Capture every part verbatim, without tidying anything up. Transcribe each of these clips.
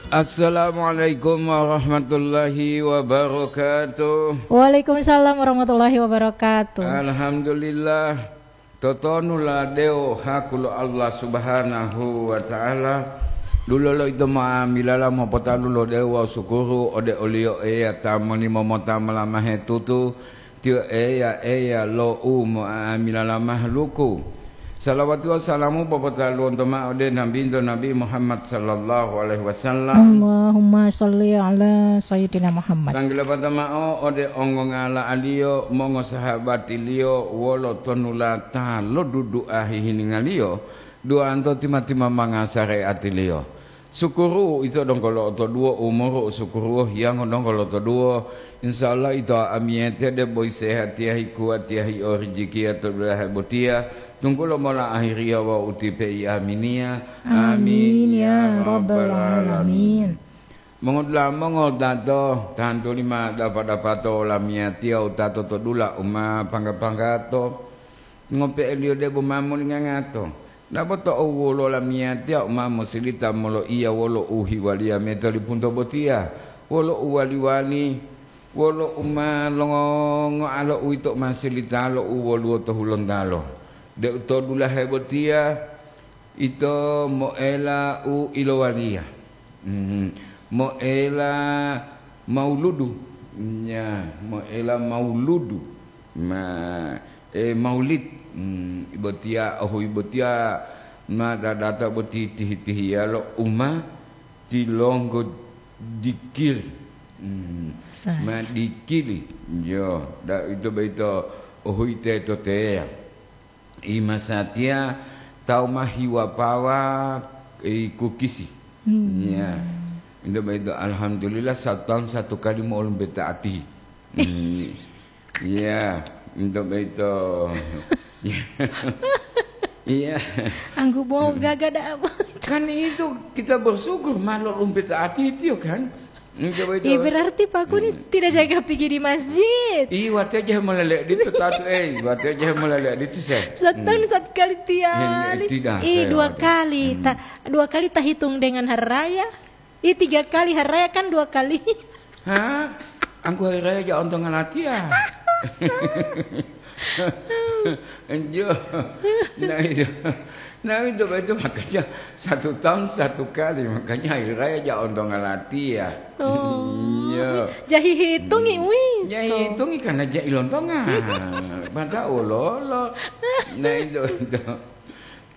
Assalamualaikum warahmatullahi wabarakatuh. Waalaikumsalam warahmatullahi wabarakatuh. Alhamdulillah. Totonu la dewo haku lo Allah Subhanahu wa Ta'ala, dulolo ito ma'amilala mopotalu lo dewo wawu sukuru ode oliyo Eya ta moni momota molamahe tutu, tiyo Eya, Eya lo u mo'amilala mahaluku. Salawati wawu salamu popotaluwonto ma'o ode Nabinto Nabi Muhammad sallallahu alaihi wasallam. Allahumma shalli ala Sayyidina Muhammad. Tanggilapata ma'o ode ongongala'aliyo, mongosahabatiliyo wolo tonulata lo dudu'a hihiningaliyo, duwanto tima-tima manga sare'atiliyo. Sukuru ito donggo lo'otoduwo, umuru u sukuru hiyango donggo lo'otoduwo. Insya Allah ito amiyete debo isehatiya, hikuwatiya, hio rijikiya to dulahe botiya, tunggulo mola ahiriya wawu utipe i aminiya. Amin, ya Rabbal Alamin. Mongodula'a mongotato, tantu lima dapa-dapato lamiyatiya utato to dula u ma pangga-panggato, ngope'eliyo debo ma molingangato. Dabo to owuwolo lamiyatiya u ma mosilita moloiya wolo u hiwaliya metolipunto botiya, wolo u wali-wali, wolo u ma longongoalo uwito u ma silitalo u woluwo to Hulontalo. Deu to dulahe botiya, ito moela u ilowaliya. Mhm. Moela mauludu. Ya, moela mauludu. Ma, eh, maulid. Hmm, ibotiya, ohu ibotiya ma dadata boti tihi-tihiyalo uma tilonggo dikir. Hmm, ma dikili. Yo, da ito boyito ohu ite to teya. I masatiya tawu ma hiwapawa, i kukisi. Hmm. Ya. Ito boyito alhamdulillah satu tahun satu kali mo'olumbe ta'ati. Hmm. Iya, untuk itu. Iya. Anggu bo gaga da apa? Kan itu kita bersyukur malah umpet ati itu kan. Untuk itu. Ih, berarti Pak Kuni tidak jaga pergi di masjid. Iya, waktu aja melelek di itu tatu, eh, waktu aja melelek di itu saya. Setahun satu kali tiap. Iya, tidak, Ih, saya dua waktu. Kali. Hmm. Ta-, dua kali tak hitung dengan hari raya. Ih, tiga kali hari raya kan dua kali. Hah? Angku hari raya ja ontongan latiya. Enjo. Nah, itu. Nah, itu, itu makanya satu tahun satu kali, makanya hari raya ja ontongan latiya. Oh. Iya. Jahi hitungi, Hmm. wih. Jahi hitungi karena ja ilontongan. Pada ololo. Nah, itu, itu.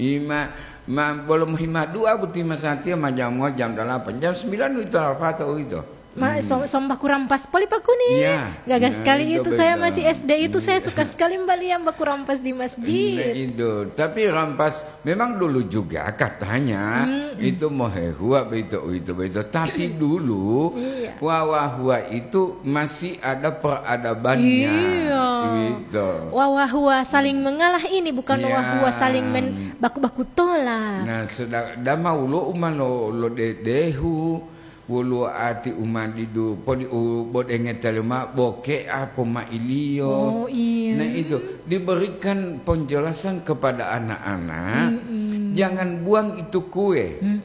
Ima, ma, bolo mohima dua buti masatiya ma jamuwa jam dalapan. Jam sembilan uwito lapatao uwito. Ma, Hmm. som-, somba kurang pas poli Pak Kuni. Iya. Gagah Nah, sekali itu itu, saya betul. masih S D itu, saya suka sekali melihat Mbak kurang pas di Nah, masjid. itu. Tapi rampas memang dulu juga katanya Mm-mm. itu mohehua beito, uwito, beito. Tapi dulu Iya. wawahua itu masih ada peradabannya. Iya. Gitu. Wawahua saling mengalah ini bukan Ya. wawahua saling men-, baku-baku tolak. Nah, sedang dama ulo uma lo, lo de-, dehu, woluwo ati uma didu, podi u bodenge talima boke apo mailiyo. Oh, iya. Nah, itu diberikan penjelasan kepada anak-anak, Mm-mm. jangan buang itu kue. Mm.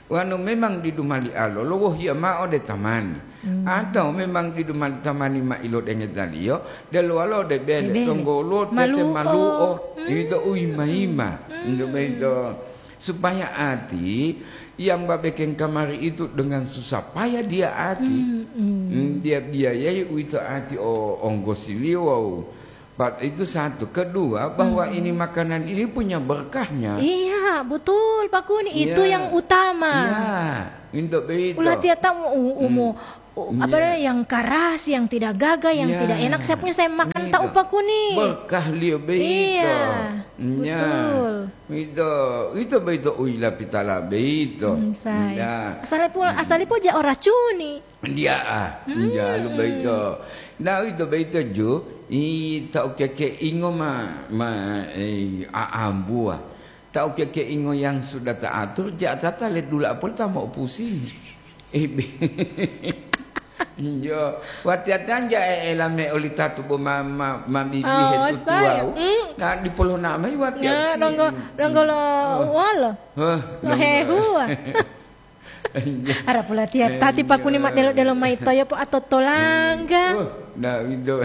Wanu memang didu mali alo, lowohiya ma'o de tamani. Hmm. Atau memang didu mali tamani ma ilodengedaliyo, deluwalo de bele, Bele. donggolo, tete, Malu'o. malu'o, Hmm. ito uyima-yima. Hmm. Ito beito. Supaya ati yang babekeng kamari itu dengan susah payah dia ati. Hmm, hmm. Hmm, dia biayai uwito ati o onggosiliyo wawu Pak, itu satu. Kedua, bahwa Hmm. ini makanan ini punya berkahnya. Iya, betul, Pak Kuni. Itu Iya. yang utama. Iya, untuk begitu. Ulah tiap tamu, u-, umu, Hmm. u-, apa Iya. namanya, yang keras, yang tidak gagah, yang Iya. tidak enak, saya punya saya makan Begitu. tahu, Pak Kuni. Berkah liyo begitu. Iya, Iya. betul. Itu, itu begitu, uila pitala begitu. Hmm, saya. Iya. Asal pun, Hmm. asal pun aja ora cuni. Ndiya'a, Hmm. njalu boyito. Nah, uwito boyito ju, i ta ukekeingo ma, ma, eh, a'ambuwa. Ta ukekeingo yang sudah ta'atur, ja'atata ledula poli ta mo'opusi. Ebe. Njo, watiya tanja e'ela me oli tatu bo ma, ma, ma bibihe Oh, tutuwau. saya. Hmm. Nah, dipolona mai watiya Ya, ti. donggo, donggo lo Oh. wolo. Hah, Lo donggo. hehuwa. Ara pulatiya tati pakuni ma delo-delo mayi toyo po atotolangga. Oh, nah, itu.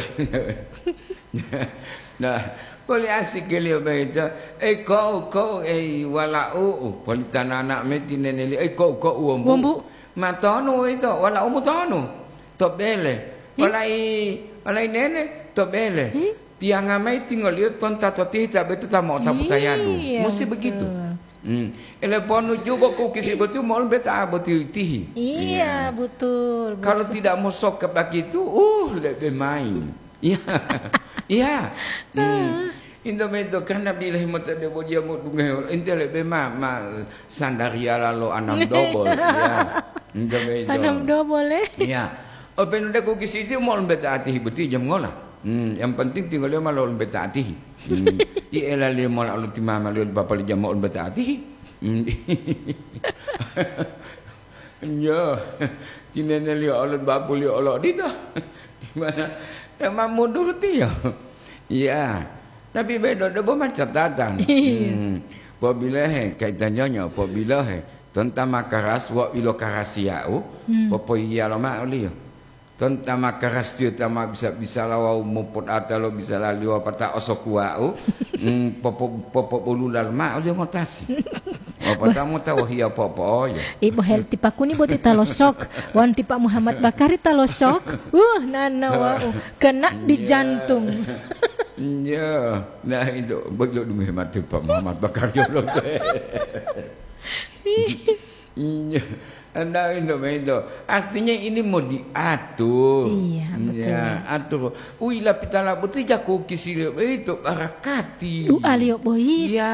Nah, boleh asik kali ya, Bang, itu. Eh, kau, kau, eh, wala'u, poli tanana meti neneli. Eh, kau, kau, uwombu. Wombu. Matonu itu, wala'umu tonu. To bele. Hi? Walai, walai nene, to bele. Hi? Tiyanga mayi tingoliyo tonta to tihita betu ta mo'otapu tayadu. Iya, musti betul. Begitu. Hmm. Ele ponu jubo kukisi boti mo'o beta boti tihi. Iya, iya, betul, kalau betul. Tidak mosok ke begitu, uh, lebe main. Iya. Iya. Hmm. Indo beto karena bilahi mota debo dia mo dungeho. Inte lebe ma, ma sandaria lalo anam dobol. Iya. Indo beto. Anam dobol, eh? Iya. Openu de kukisi ti mo'o beta atihi boti jam ngola. Hmm, yang penting tinggal dia malah ulun beta atihi. Hmm. I elaliyo mola olo ti mama liyo bapa li jama ulun beta atihi. Hmm. Iya. Tineneliyo olo bapuliyo olo odito. Gimana? Ya, ma mundur tiyo. Iya. Tapi bedo debo ma catatan. Iya. Hmm. Pobilohe, kaitannyonyo, pobilohe. Tonta makaras wa ilo karasiyau, hmm, popoiyalo ma'o liyo. Tonta makarasiyo ta ma bisa-bisala wawu mopodata lo bisalaliyo wapata osokuwa'u, mm, popo-, popobulula loma'o liyo ngotasi. Wapata mota wohiya po'opo'oyo. Ibu Helti Pakuni boti ta losok, wan ti Pak Muhammad Bakari ta losok. Uh, nana wa'u, kena di jantung. Iya. Nah, itu, bagi lo dungu hemat Pak Muhammad Bakari lo. Iya, anda itu, itu. Artinya ini mau diatur. Iya, betul. Ya, atur. Ui, lapitala boti jaku kisile itu barakati. Doa liyo boyito. Iya.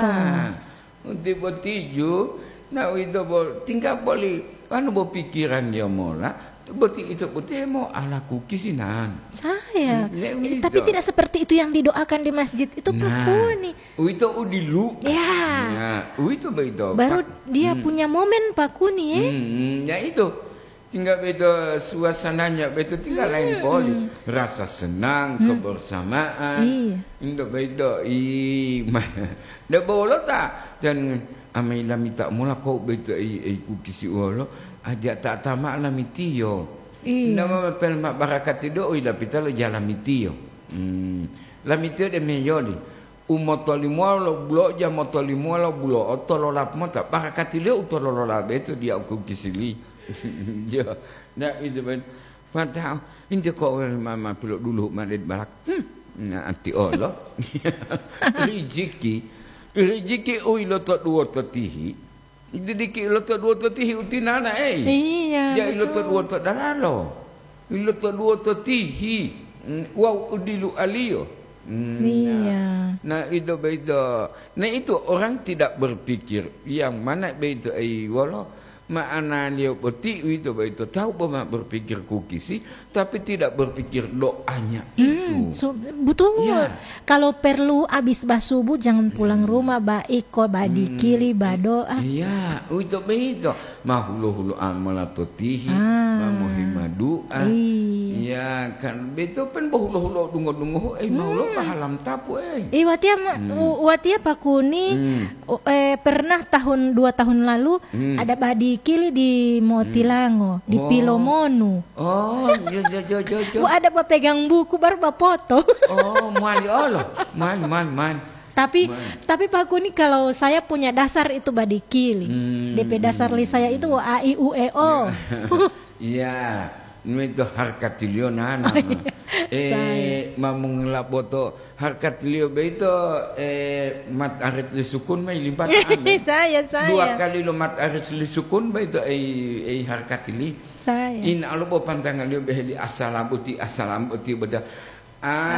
Unti botiju, nah, itu bo-, tinggal boli, anu, bo pikiran dia mola, boti itu boti mau ala kukisinan. Saya. Ne, eh, tapi itu tidak seperti itu yang didoakan di masjid itu, Pak Kuni. Uwito u dilu'o. Ya. Ya, uwito boyito, Pak. Baru dia punya momen, Pak Kuni, ya. Hmm, hmm, ya itu. Tinggal boyito suasananya, boyito tinggal lain poli. Rasa senang, kebersamaan. Iya. Untuk boyito, i, ma-, ndak bolo ta? Dan amai lamita mula kau boyito, i, i, kukisi uwolo, aja ta tama lamitiyo. Iya. Ndak ma pel ma barakati do, ui lapita lo jalamitiyo. Hmm. Lamitiyo de meyoli. Umotolimowa lo bulo'o, ja motolimowa lo bulo'o, tololap mota. Barakatiliyo u tololola beto diya u kukisili. Yo, na itu ben. Fatao, inte ko mama pilo dulu ma de balak. Hmm, na ati olo. Rijiki, rijiki u iloto duwo to tihi. Didiki iloto duwo to tihi utinana, ei. Iya, ja iloto duwo to dalalo. Iloto duwo to tihi. Mm, wawu udilualiyo. Mm, iya. Nah, nah, ito boyito. Nah, itu orang tidak berpikir yang mana boyito, ei, wolo ma'analiyo boti uwito boyito. Tahu bo ma berpikir kukisi, tapi tidak berpikir doanya itu. Hmm, so, betul. Ya. Kalau perlu habis basubuh jangan pulang rumah, baik kok badikili, badoa. Iya, uwito boyito. Ma hulo-hulo amala to tihi, ma mohimadu'a. Iya. Iya, kan beto pen bo hulo-hulo dungo-dungohu, eh, ma hulo pahalam tapu, eh. Eh, watiya ma-, u-, watiya Pak Kuni, u-, eh, pernah tahun, dua tahun lalu, ada badikili di Motilango, di Pilomonu. Oh, iya, iya, iya, iya, iya. Wah, ada bapegang buku, baru bapoto. Oh, mali olo. Mali, mali, mali. Tapi, tapi Pak Kuni, kalau saya punya dasar itu badikili. Hmm. D P dasar li saya itu A, I, U, E, O. Iya. Iya. Itu harkatiliyo nana. Oh, iya. Eh, mamungila boto harkatiliyo beito, eh, mat arit li sukun mai limpata ame. Saya, saya. Dua kali lo mat arit li sukun beito, eh, eh, harkatili. Saya. In alo bo pantangaliyo beheli asalabuti, asalabuti beda. Ah,